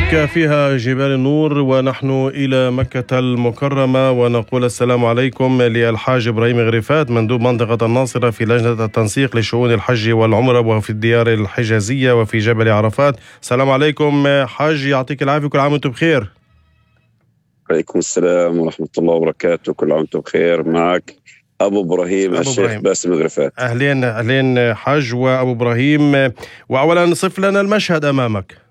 مكة فيها جبال النور، ونحن إلى مكة المكرمة، ونقول السلام عليكم للحاج إبراهيم غريفات مندوب منطقة الناصرة في لجنة التنسيق لشؤون الحج والعمرة وفي الديار الحجازية وفي جبل عرفات. السلام عليكم حاج، يعطيك العافية، كل عام وانتم بخير. عليكم السلام ورحمة الله وبركاته، كل عام وانتم بخير. معك أبو إبراهيم الشيخ باسم غريفات. أهلين حاج وأبو إبراهيم. وأولا صف لنا المشهد أمامك.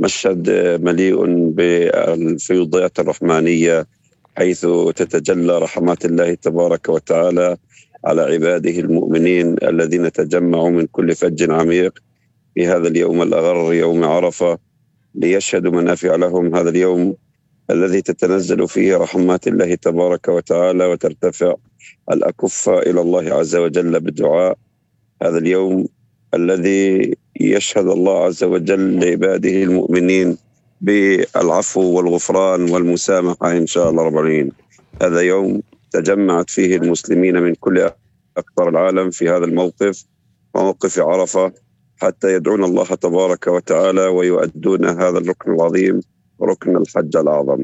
مشهد مليء بالفيضات الرحمانية، حيث تتجلى رحمات الله تبارك وتعالى على عباده المؤمنين الذين تجمعوا من كل فج عميق في هذا اليوم الأغر، يوم عرفة، ليشهدوا منافع لهم. هذا اليوم الذي تتنزل فيه رحمات الله تبارك وتعالى وترتفع الأكف إلى الله عز وجل بالدعاء. هذا اليوم الذي يشهد الله عز وجل لعباده المؤمنين بالعفو والغفران والمسامحة إن شاء الله رب العالمين. هذا يوم تجمعت فيه المسلمين من كل أقطار العالم في هذا الموقف، موقف عرفة، حتى يدعون الله تبارك وتعالى ويؤدون هذا الركن العظيم، ركن الحج الأعظم.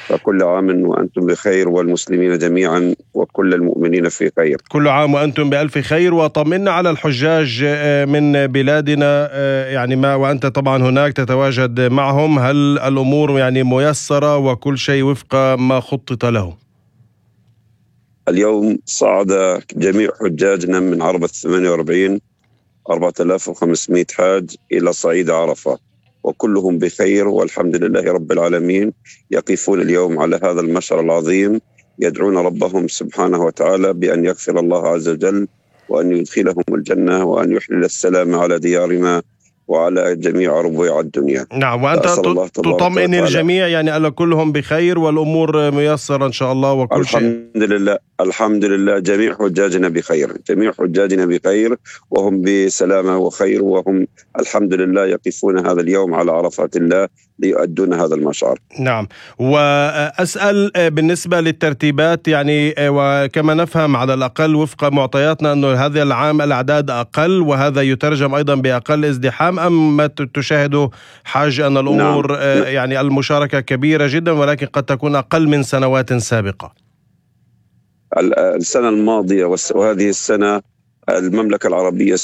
فكل عام وأنتم بخير، والمسلمين جميعا وكل المؤمنين في خير. كل عام وأنتم بألف خير. وطمنا على الحجاج من بلادنا، يعني ما وأنت طبعا هناك تتواجد معهم، هل الأمور يعني ميسرة وكل شيء وفق ما خطط له؟ اليوم صعد جميع حجاجنا من عربة 48 4500 حاج إلى صعيد عرفة، وكلهم بخير والحمد لله رب العالمين. يقفون اليوم على هذا المشعر العظيم، يدعون ربهم سبحانه وتعالى بأن يغفر الله عز وجل، وأن يدخلهم الجنة، وأن يحلل السلام على ديارنا وعلى جميع ربوع الدنيا. نعم، وأنت تطمئن الجميع، يعني ألا كلهم بخير والأمور ميسرة إن شاء الله وكل شيء؟ الحمد لله جميع حجاجنا بخير، جميع حجاجنا بخير وهم بسلامة وخير، وهم الحمد لله يقفون هذا اليوم على عرفات الله ليؤدون هذا المشعر. نعم. وأسأل بالنسبة للترتيبات، يعني وكما نفهم على الأقل وفق معطياتنا أنه هذا العام الأعداد أقل، وهذا يترجم أيضا بأقل ازدحام، أم ما تشاهدوا حاج أن الأمور يعني المشاركة كبيرة جدا ولكن قد تكون أقل من سنوات سابقة؟ السنة الماضية وهذه السنة المملكة العربية السعودية